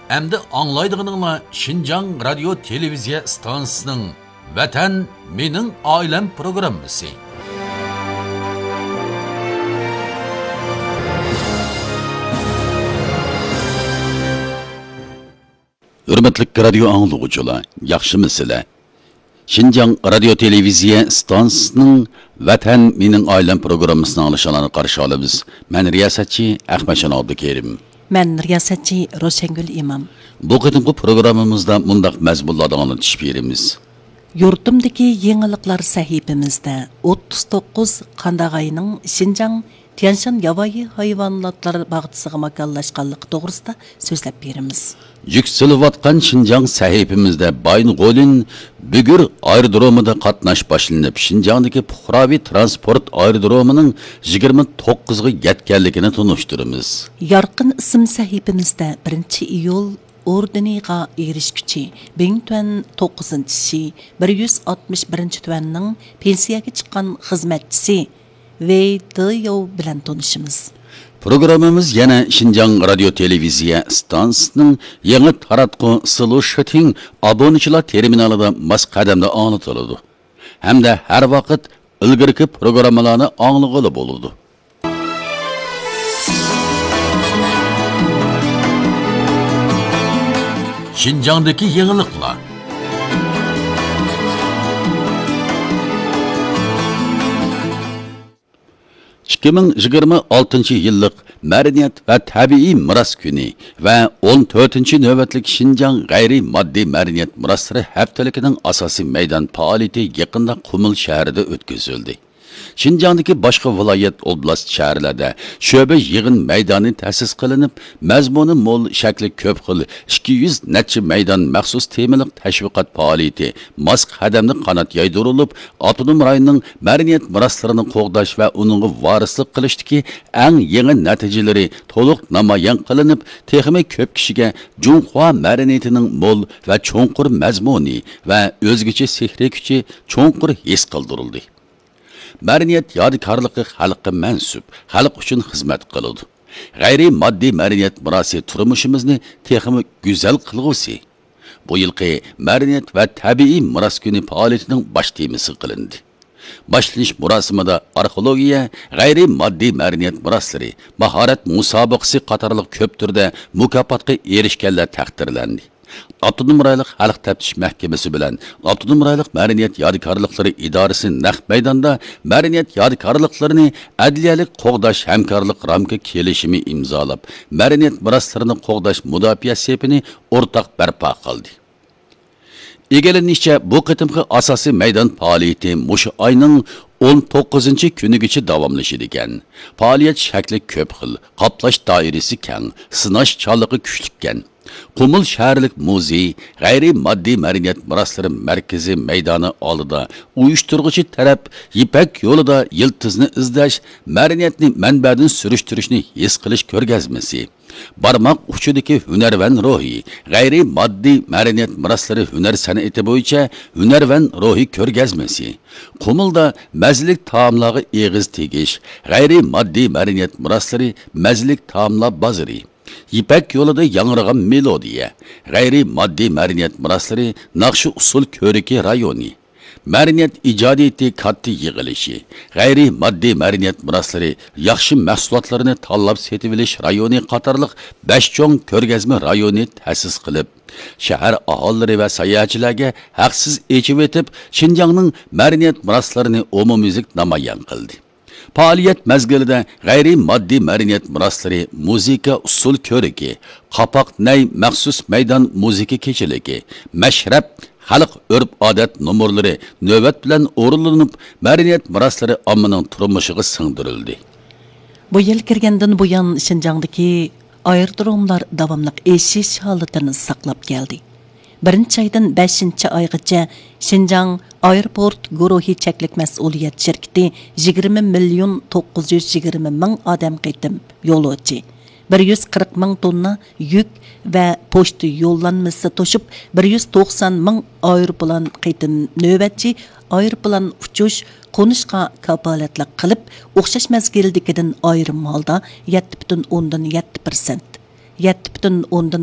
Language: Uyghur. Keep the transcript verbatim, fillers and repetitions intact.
ئەمدى ئاڭلايدىغىنىڭلار شىنجاڭ رادىيو تېلېۋىزىيە ئىستانسىسىنىڭ ۋەتەن مېنىڭ ئائىلەم پروگراممىسى. ھۆرمەتلىك رادىيو ئاڭلىغۇچىلار، ياخشىمۇسىلەر؟ شىنجاڭ رادىيو تېلېۋىزىيە ئىستانسىسىنىڭ ۋەتەن مېنىڭ ئائىلەم پروگراممىسىنى ئاڭلىشىڭلارنى قارشى ئالىمىز. مەن رىياسەتچى ئەخمەتجان ئابدۇكېرىم. مەن رىياسەتچى روشەنگۈل ئىمام. بۇ قېتىمقى پروگراممىمىزدا مۇنداق مەزمۇنلاردا ئاڭلىتىش بېرىمىز. يۇرتۇمدىكى يېڭىلىقلار سەھىپىمىزدە ئوتتۇز توققۇز قانداغاينىڭ شىنجاڭ تيەنشان ياۋايى ھايۋاناتلار باغچىسىغا ماكانلاشقانلىقى توغرىسىدا سۆزلەپ بېرىمىز. يۈكسىلىۋاتقان شىنجاڭ سەھىپىمىزدە بايىنغولىن بۈگۈر ئايرودرومىدا قاتناش باشلىنىپ، شىنجاڭدىكى پۇقراۋى تىرانسپورت ئايرودرومىنىڭ يىگىرمە توققۇزغا يەتكەنلىكىنى تونۇشتۇرىمىز. يارقىن ئىسىم سەھىپىمىزدە بىرىنچى ئىيۇل ئوردېنىغا ئېرىشكۈچى بىڭتۈەن توققۇزىنچى شى بىر يۈز ئاتمىش بىرىنچى تۈەننىڭ پېنسىيەگە چىققان خىزمەتچىسى ۋېي دېياۋ بىلەن تونۇشىمىز. پروگراممىمىز يەنە شىنجاڭ رادىيو تېلېۋىزىيە ئىستانسىسىنىڭ يېڭى تاراتقۇ سلۇشىتىڭ ئابۇنىچىلار تېرمىنالىدا ماس قەدەمدە ئاڭلىتىلىدۇ ھەمدە ھەر ۋاقىت ئىلگىرىكى پروگراممىلارنى ئاڭلىغىلى بولىدۇ. شىنجاڭدىكى يېڭىلىقلار. ئىككى مىڭ يىگىرمە ئالتىنچى يىللىق مەدەنىيەت ۋە تەبىئىي مىراس كۈنى ۋە ئون تۆتىنچى نۆۋەتلىك شىنجاڭ غەيرىي ماددىي مەدەنىيەت مىراسلىرى ھەپتىلىكىنىڭ ئاساسىي مەيدان پائالىيىتى يېقىندا قۇمۇل شەھىرىدە ئۆتكۈزۈلدى. شىنجاڭدىكى باشقا ۋىلايەت، ئوبلاست، شەھەرلەردە شۆبە يىغىن مەيدانى تەسىس قىلىنىپ، مەزمۇنى مول، شەكلى كۆپ خىل ئىككى يۈز نەچچە مەيدان مەخسۇس تېمىلىق تەشۋىقات پائالىيىتى ماس قەدەمدە قانات يايدۇرۇلۇپ، ئاپتونوم رايوننىڭ مەدەنىيەت مىراسلىرىنى قوغداش ۋە ئۇنىڭغا ۋارىسلىق قىلىشتىكى ئەڭ يېڭى نەتىجىلىرى تولۇق نامايان قىلىنىپ، تېخىمۇ كۆپ كىشىگە جۇڭخۇا مەدەنىيىتىنىڭ مول ۋە چوڭقۇر مەزمۇنى ۋە ئۆزگىچە سېھرىي كۈچى چوڭقۇر ھېس قىلدۇرۇلدى. مەدەنىيەت يادىكارلىقى خەلققە مەنسۇپ، خەلق ئۈچۈن خىزمەت قىلىدۇ. غەيرىي ماددىي مەدەنىيەت مىراسى تۇرمۇشىمىزنى تېخىمۇ گۈزەل قىلغۇسى. بۇ يىلقى مەدەنىيەت ۋە تەبىئىي مىراس كۈنى پائالىيىتىنىڭ باش تېمىسى قىلىندى. باشلىنىش مۇراسىمىدا ئارخېئولوگىيە، غەيرىي ماددىي مەدەنىيەت مىراسلىرى، ماھارەت مۇسابىقىسى قاتارلىق كۆپ تۈردە مۇكاپاتقا ئېرىشكەنلەر تەقدىرلەندى. ئاپتونوم رايونلۇق خەلق تەپتىش مەھكىمىسى بىلەن ئاپتونوم رايونلۇق مەدەنىيەت يادىكارلىقلىرى ئىدارىسى نەق مەيداندا مەدەنىيەت يادىكارلىقلىرىنى ئەدلىيەلىك قوغداش ھەمكارلىق رامكا كېلىشىمى ئىمزالاپ، مەدەنىيەت مىراسلىرىنى قوغداش مۇداپىئە سېپىنى ئورتاق بەرپا قىلدى. ئىگىلىنىشىچە، بۇ قېتىمقى ئاساسىي مەيدان پائالىيىتى مۇشۇ ئاينىڭ ئون توققۇزىنچى كۈنىگىچە داۋاملىشىدىكەن. پائالىيەت شەكلى كۆپ خىل، قاپلاش دائىرىسى كەڭ، سىناش چاللىقى كۈچلۈككەن. قۇمۇل شەھەرلىك مۇزېي، غەيرىي ماددىي مەدەنىيەت مىراسلىرى مەركىزى مەيدانى ئالدىدا ئۇيۇشتۇرغۇچى تەرەپ يىپەك يولىدا يىلتىزنى ئىزدەش، مەدەنىيەتنى مەنبەدىن سۈرۈشتۈرۈشنى ھېس قىلىش كۆرگەزمىسى، بارماق ئۇچىدىكى ھۈنەرۋەن روھى، غەيرىي ماددىي مەدەنىيەت مىراسلىرى ھۈنەر سەنئىتى بويىچە ھۈنەرۋەن روھى كۆرگەزمىسى، قۇمۇلدا مەززىلىك تائاملارغا ئېغىز تېگىش، غەيرىي ماددىي مەدەنىيەت مىراسلىرى مەززىلىك تائاملار بازىرى، يىپەك يولىدا ياڭرىغان مېلودىيە، غەيرىي ماددىي مەدەنىيەت مىراسلىرى ناخشا ئۇسسۇل كۆرىكى رايونى، مەدەنىيەت ئىجادىيىتى كاتتا يىغىلىشى، غەيرىي ماددىي مەدەنىيەت مىراسلىرى ياخشى مەھسۇلاتلىرىنى تاللاپ سېتىۋېلىش رايونى قاتارلىق بەش چوڭ كۆرگەزمە رايونى تەسىس قىلىپ، شەھەر ئاھالىلىرى ۋە ساياھەتچىلەرگە ھەقسىز ئېچىۋېتىپ، شىنجاڭنىڭ مەدەنىيەت مىراسلىرىنى ئومۇميۈزلۈك نامايان قىلدى. پائالىيەت مەزگىلىدە غەيرىي ماددىي مەدەنىيەت مىراسلىرى، مۇزىكا ئۇسسۇل كۆرىكى، قاپاق نەي مەخسۇس مەيدان مۇزىكا كېچىلىكى، مەشرەپ، خەلق ئۆرپ-ئادەت نومۇرلىرى نۆۋەت بىلەن ئورۇنلىنىپ، مەدەنىيەت مىراسلىرى ئاممىنىڭ تۇرمۇشىغا سىڭدۈرۈلدى. بۇ يىل كىرگەندىن بۇيان، شىنجاڭدىكى ئايرودروملار داۋاملىق ئېشىش ھالىتىنى ساقلاپ كەلدى. بىرىنچى ئايدىن بەشىنچى ئايغىچە شىنجاڭ ئايروپورت گۇرۇھى چەكلىك مەسئۇلىيەت شىركىتى يىگىرمە مىليون توققۇز يۈز يىگىرمە مىڭ ئادەم قېتىم يولۇچى، بىر يۈز قىرىق مىڭ توننا يۈك ۋە پوچتا يوللانمىسى توشۇپ، بىر يۈز توقسان مىڭ ئايروپىلان قېتىم نۆۋەتچى ئايروپىلان ئۇچۇش، قونۇشقا كاپالەتلىك قىلىپ، ئوخشاش مەزگىلدىكىدىن ئايرىم ھالدا يەتتە پۈتۈن ئوندىن يەتتە پىرسەنت، يەتتە پۈتۈن ئوندىن